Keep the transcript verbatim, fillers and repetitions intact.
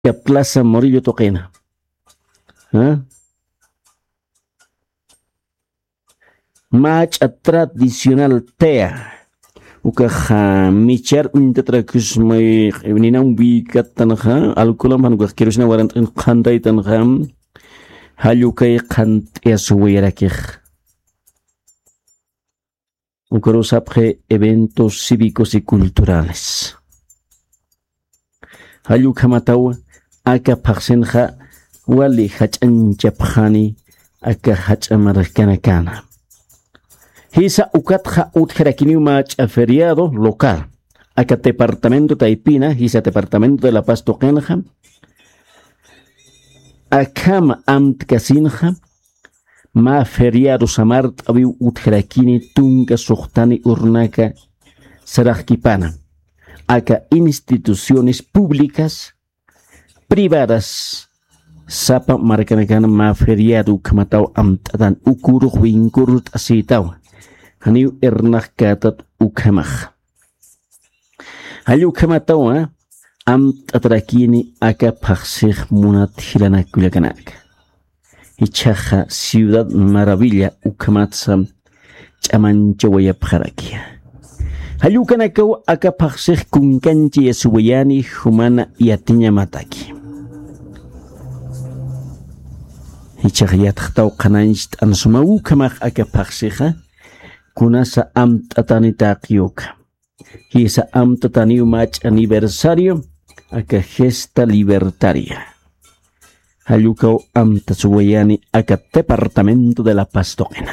Plaza Morillo tuqina. ¿Ah? Mach'a tradicional tea. Ukaxa michar uñtatrakusmay ninam wikattanxa alcoholam jan ukax kerosina warant'in qhantaytanxa. Jallukay qhant'iyasuwayarakix. Ukarusapxi eventos cívicos y culturales. Jallukhamataw aka phaxsinxa wali jach'anchapxani aka jach'a markanakana. Jisa ukatxa utjarakiniw mach'a feriado local aka departamento taypina jisa departamento de la paz tuqinxa. Akhama amtkasinxa mä feriado samart'awiw utjarakini tunka suxtani urnaka saraxkipana aka instituciones públicas privadas sapa markanakana mä feriado ukhamataw amt'atan ukurux winkurt'asïtaw. Janiw irnaxkätat ukhamax. Jall ukhamatawa amt'atarakini aka phaxsix munat jilanak kullakanaka. Jichhaxa ciudad maravilla ukhamatsa ch'amanchawayapxarakiya. Jallukanakaw aka phaxsix kunkanchayasuwayani jumana yatiñamataki. Jichhax yatxtaw qhanañcht'an sumaw ukhamax aka phaxsixa kunasa amt'atani taqiyuka. Jisa amtataniw mach'a aniversario aka gesta libertaria. Jallukaw amtasuwayani aka departamento de la paz tuqina.